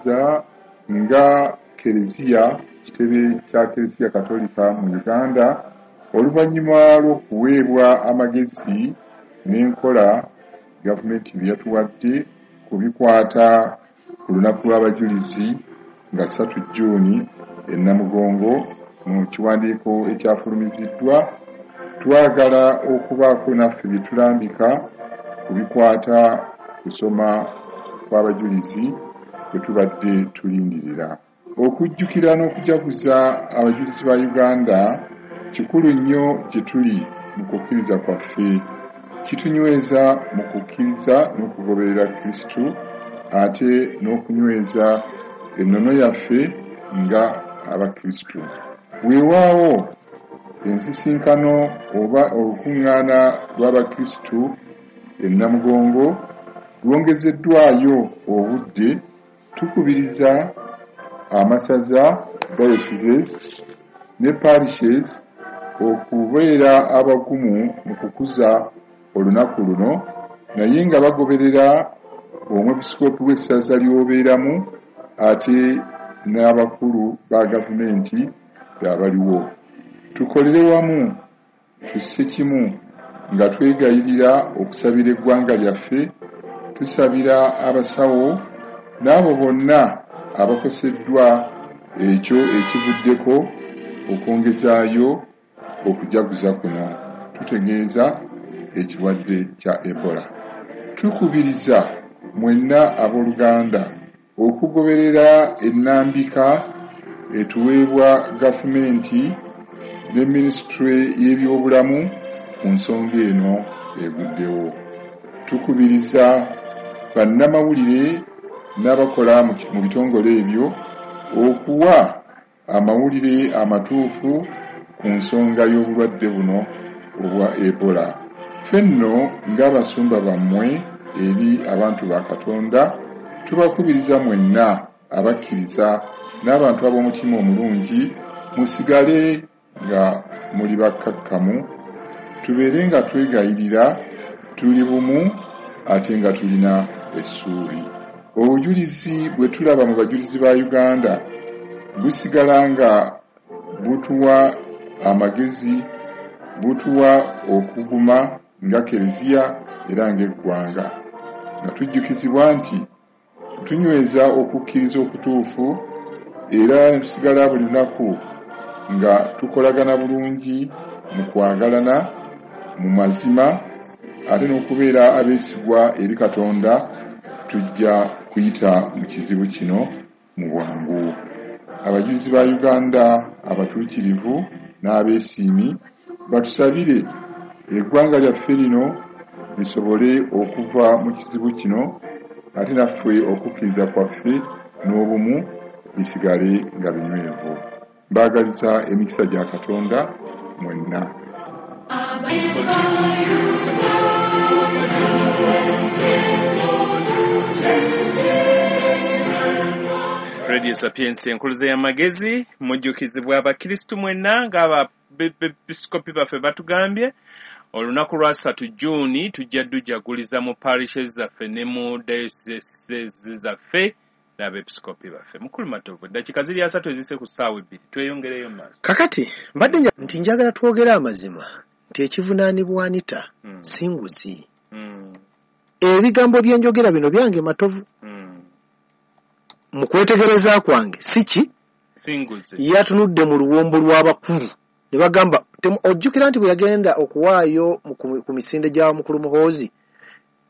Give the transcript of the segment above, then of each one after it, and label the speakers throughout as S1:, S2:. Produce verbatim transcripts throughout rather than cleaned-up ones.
S1: Tubategeeza nga Kereziya, kitebe kya Kereziya Katolika mu Uganda, oluvannyuma lw'okuweebwa amagezi n'enkola gavumenti bye yatuwadde ku bikwata ku lunaku lw'abajulizi nga ssatu Jjuuni e Namugongo mu kiwandiiko ekyafulumiziddwa, twagala okubaako naffe bye tulambika ku bikwata kusoma kw'abajulizi bwe tubadde tulindirira. Okujjukira n'okujaguza abajulizi ba Uganda kikulu nnyo gye tuli mu kukkiriza kwaffe. Kitunyweza mu kukkiriza n'okugoberera Kristo, ate n'okunyweza ennono yaffe nga Abakristo. Weewaawo ensisinkano oba olukuŋŋaana lw'Abakristo e Namugongo lwongezeddwayo obudde. Tukubiriza amasaza, dioceses ne parishes okubeera abagumu mu kukuza olunaku luno, naye nga bagoberera omwepisikoopi w'essaza ly'obeeramu ate n'abakulu ba gavumenti abaliwo. Tukolere wamu, tusse kimu nga twegayirira okusabira eggwanga lyaffe, tusabira abasawo n'abo bonna abakoseddwa ekyo ekivuddeko okwongezaayo okujaguza kuno. Tutegeeza ekirwadde kya Ebola. Tukubiriza mwenna abooluganda okugoberera ennambika etuweebwa gavumenti ne minisitule y'ebyobulamu ku nsonga eno eguddewo. Tukubiriza bannamawulire n'abakola mu bitongole ebyo okuwa amawulire amatuufu ku nsonga y'obulwadde buno obwa Ebola. Ffe nno ng'abasumba bammwe eri abantu ba Katonda, tubakubiriza mwenna abakkiriza n'abantu ab'omutima omulungi musigale nga muli bakkakkamu, tubeere nga twegayirira, tuli bumu ate nga tulina essuubi. Obujulizi bwe tulaba mu bajulizi ba Uganda busigala nga butuwa amagezi, butuwa okuguma nga Kereziya era ng'eggwanga, nga tujjukizibwa nti tunyweza okukkiriza okutuufu era ne tusigala buli lunaku nga tukolagana bulungi mu kwagalana mu mazima ate n'okubeera abeesigwa eri Katonda. Tujja kuyita mu kizibu kino mu bwangu. Abajulizi ba Uganda abatuukirivu n'abeesiimi batusabire eggwanga lyaffe lino lisobole okuva mu kizibu kino, ate naffe okukkiriza kwaffe n'obumu bisigale nga binywevu. Mbaagaliza emikisa gya Katonda mwenna.
S2: Radio Sapientia enkuluze y'amagezi, mujjukizibwa abakristu mwenna ng'abepiskopi baffe batugambye olunaku lwa ssatu Jjuuni tujja dujaguliza mu parishes zaffe ne mu dioceses zaffe n'abepiskopi baffe. Mukulu Matovu, eddakiika ziri asatu ezise ku ssaawa ebbiri, tweyongereyo mu maaso.
S3: Kakati mbadde nti njagala twogere amazima nti ekivunaanibwa Anita
S2: Mm.
S3: si nguzi.
S2: Mm.
S3: Ebigambo bye njogera bino byange Matovu.
S2: Mm.
S3: Mu kwetegereza kwange si ki
S2: si nguzi.
S3: Yatunudde mu luwombo lw'abakulu ne bagamba, ojjukira nti bwe yagenda okuwaayo ku misinde gya Mukulu Muhoozi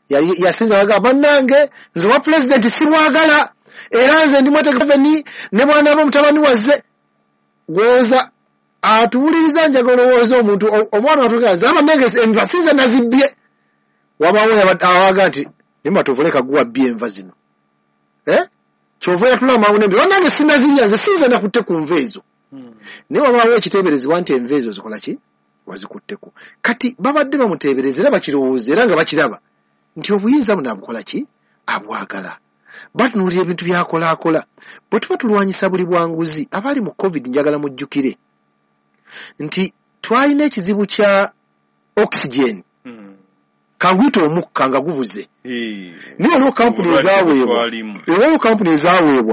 S3: yasinza bagamba, bannange nze wa pulezidenti simwagala era nze ndi mwetegefu ne bw'anaaba mutabani wazze. Gwoza atuwuliriza njagala olowooza omuntu omwana watugaa nze bannange enva si nze nazibbye. Wabaawo awaga nti ne Matovu leka guwa bbye enva zino, eh kyova yatula amangu nembi bannange sinazirya nze si nze nakutte ku nva ezo. Naye wabaawo ekiteeberezebwa nti enva ezo zikola ki wazikutteko. Kati babadde bamuteebereza era bakirowooza era nga bakiraba nti obuyinza buno abukola ki abwagala. Batunuulira ebintu byakolaakola. Bwe tuba tulwanyisa buli bwanguzi, abali mu COVID njagala mujjukire nti twalina ekizibu kya oxygen. Kanguyite omukka nga gubuze. Naye waliwo kampuni ezaaweebwa, waliwo kampuni ezaaweebwa